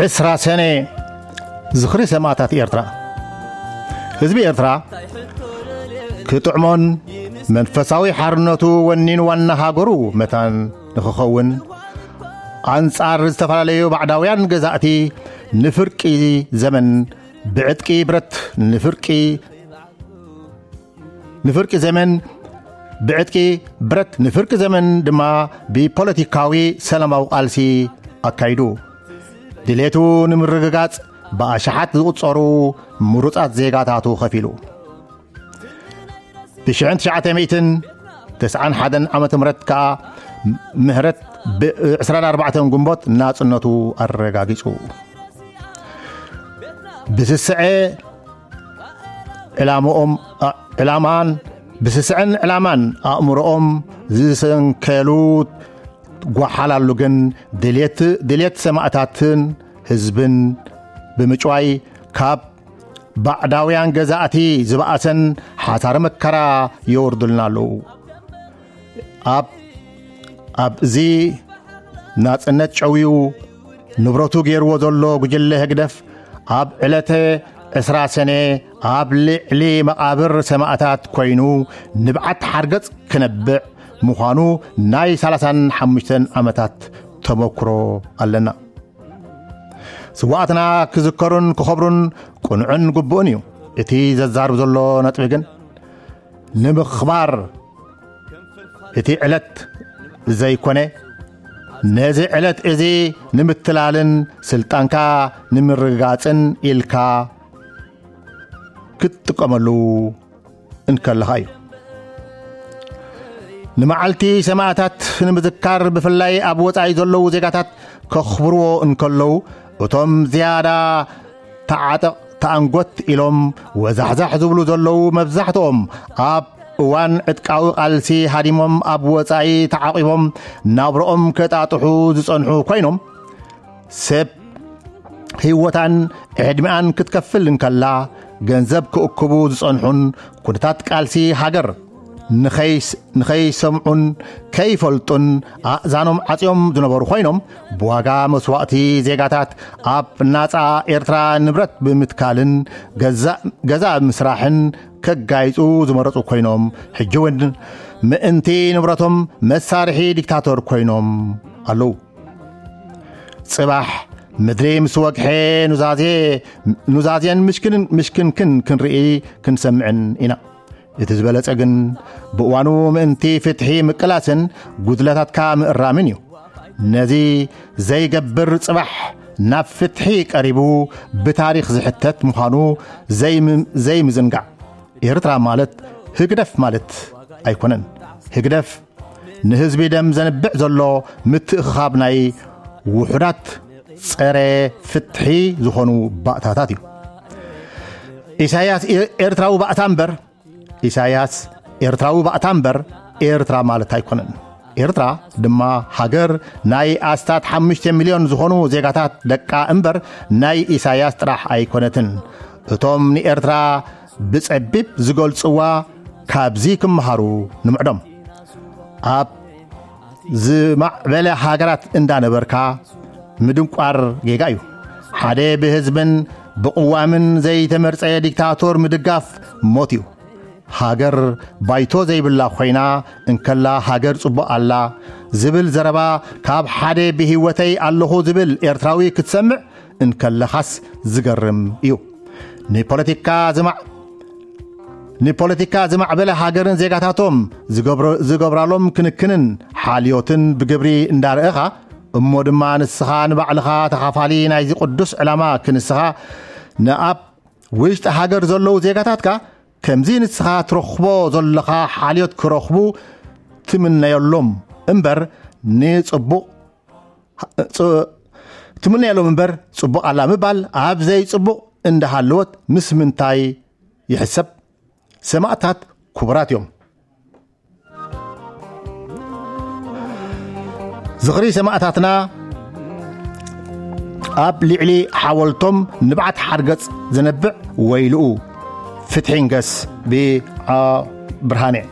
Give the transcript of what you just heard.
ዕስራ ሰነ ዝኽሪ ሰማእታት ኤርትራ። ህዝቢ ኤርትራ ክጥዕሞን መንፈሳዊ ሓርነቱ ወኒን ዋና ሃገሩ መታን ንኽኸውን፣ ኣንጻር ዝተፈላለዩ ባዕዳውያን ገዛእቲ ንፍርቂ ዘመን ብዕጥቂ ብረት፣ ንፍርቂ ንፍርቂ ዘመን ብዕጥቂ ብረት፣ ንፍርቂ ዘመን ድማ ብፖለቲካዊ ሰላማዊ ቃልሲ ኣካይዱ። ድሌቱ ንምርግጋጽ ብኣሽሓት ዝቑጸሩ ምሩጻት ዜጋታቱ ከፊሉ። ብ ትሽዓተ ሚእትን ተስዓን ሓደን ዓመተ ምህረት ከኣ ምህረት ብ ዕስራን ኣርባዕተን ግንቦት ናጽነቱ ኣረጋጊጹ። ብስስዐ ዕላምኦም፣ አ-፣ ዕላማን፣ ብስስዐን ዕላማን ኣእምሮኦም ዝሰንከሉ ጓሓላሉ ግን ድልየት፣ ድልየት ሰማእታትን ህዝብን ብምጭዋይ ካብ ባዕዳውያን ገዛእቲ ዝበኣሰን ሓሳረ መከራ የወርዱልና ኣለዉ። ኣብ፣ ኣብዚ ናጽነት ጨውዩ ንብረቱ ገይርዎ ዘሎ ጉጅለ ህግደፍ ኣብ ዕለተ ዕስራ ሰነ ኣብ ልዕሊ መቓብር ሰማእታት ኮይኑ ንብዓት ሓርገጽ ክነብዕ ምዃኑ ናይ ሰላሳን ሓሙሽተን ዓመታት ተመክሮ ኣለና። ስዋኣትና ክዝከሩን ክኸብሩን ቅኑዕን ግቡእን እዩ። እቲ ዘዛርብ ዘሎ ነጥቢ ግን ንምኽባር እቲ ዕለት ዘይኮነ፣ ነዚ ዕለት እዚ ንምትላልን ስልጣንካ ንምርግጋጽን ኢልካ ክትጥቀመሉ እንከለኻ እዩ። ንመዓልቲ ሰማእታት ንምዝካር ብፍላይ ኣብ ወጻኢ ዘለዉ ዜጋታት ከኽብርዎ እንከለዉ፣ እቶም ዝያዳ ተዓጠቕ ተኣንጎት ኢሎም ወዛሕዛሕ ዝብሉ ዘለዉ መብዛሕትኦም ኣብ እዋን ዕጥቃዊ ቃልሲ ሃዲሞም ኣብ ወጻኢ ተዓቒቦም ናብርኦም ከጣጥሑ ዝጸንሑ ኮይኖም፣ ሰብ ህይወታን ዕድሚኣን ክትከፍል እንከላ፣ ገንዘብ ክእክቡ ዝጸንሑን ኩነታት ቃልሲ ሃገር ንኸይስ-፣ ንኸይሰምዑን ከይፈልጡን ኣእዛኖም ዓጽዮም ዝነበሩ ኮይኖም፣ ብዋጋ መስዋእቲ ዜጋታት ኣብ ናጻ ኤርትራ ንብረት ብምትካልን ገዛ-፣ ገዛ ብምስራሕን ከጋይጹ ዝመረጹ ኮይኖም፣ ሕጂ እውን ምእንቲ ንብረቶም መሳርሒ ዲክታቶር ኮይኖም ኣለዉ። ጽባሕ ምድሪ ምስ ወግሐ ኑዛዜ፣ ኑዛዜን ምሽክን-፣ ምሽክንክን ክንርኢ ክንሰምዕን ኢና። እቲ ዝበለጸ ግን ብእዋኑ ምእንቲ ፍትሒ ምቅላስን ጉድለታትካ ምእራምን እዩ። ነዚ ዘይገብር ጽባሕ ናብ ፍትሒ ቀሪቡ ብታሪኽ ዝሕተት ምዃኑ ዘይም-፣ ዘይምዝንጋዕ። ኤርትራ ማለት ህግደፍ ማለት ኣይኮነን። ህግደፍ ንህዝቢ ደም ዘንብዕ ዘሎ ምትእኽኻብ ናይ ውሑዳት ጸረ ፍትሒ ዝኾኑ ባእታታት እዩ። ኢሳያስ ኤ-፣ ኤርትራዊ ባእታ እምበር፣ ኢሳያስ ኤርትራዊ ባእታ እምበር ኤርትራ ማለት ኣይኮነን። ኤርትራ ድማ ሃገር ናይ ኣስታት ሓሙሽተ ሚልዮን ዝኾኑ ዜጋታት ደቃ እምበር ናይ ኢሳያስ ጥራሕ ኣይኮነትን። እቶም ንኤርትራ ብጸቢብ ዝገልጽዋ ካብዚ ክመሃሩ ንምዕዶም። ኣብ ዝማዕበለ ሃገራት እንዳነበርካ ምድንቋር ጌጋ እዩ። ሓደ ብህዝብን ብቕዋምን ዘይተመርጸ ዲክታቶር ምድጋፍ ሞት እዩ። ሃገር ባይቶ ዘይብላ ኮይና እንከላ ሃገር ጽቡቕ ኣላ ዝብል ዘረባ ካብ ሓደ ብህይወተይ ኣለኹ ዝብል ኤርትራዊ ክትሰምዕ እንከለኻስ ዝገርም እዩ። ንፖለቲካ ዝማዕ-፣ ንፖለቲካ ዝማዕበለ ሃገርን ዜጋታቶም ዝገብረ-፣ ዝገብራሎም ክንክንን ሓልዮትን ብግብሪ እንዳረእኻ፣ እሞ ድማ ንስኻ ንባዕልኻ ተኻፋሊ ናይዚ ቅዱስ ዕላማ ክንስኻ ንኣብ ውሽጢ ሃገር ዘለዉ ዜጋታትካ ከምዚ ንስኻ ትረኽቦ ዘለኻ ሓልዮት ክረኽቡ ትምነየሎም እምበር ንጽቡቕ፣ ጽ-፣ ትምነየሎም እምበር ጽቡቕ ኣላ ምባል ኣብ ዘይጽቡቕ እንዳሃለወት ምስ ምንታይ ይሕሰብ? ሰማእታት ክቡራት እዮም። ዝኽሪ ሰማእታትና ኣብ ልዕሊ ሓወልቶም ንብዓት ሓርገጽ ዘነብዕ ወይልኡ። ፍትሒ ንገስ ብዓ ብርሃነ።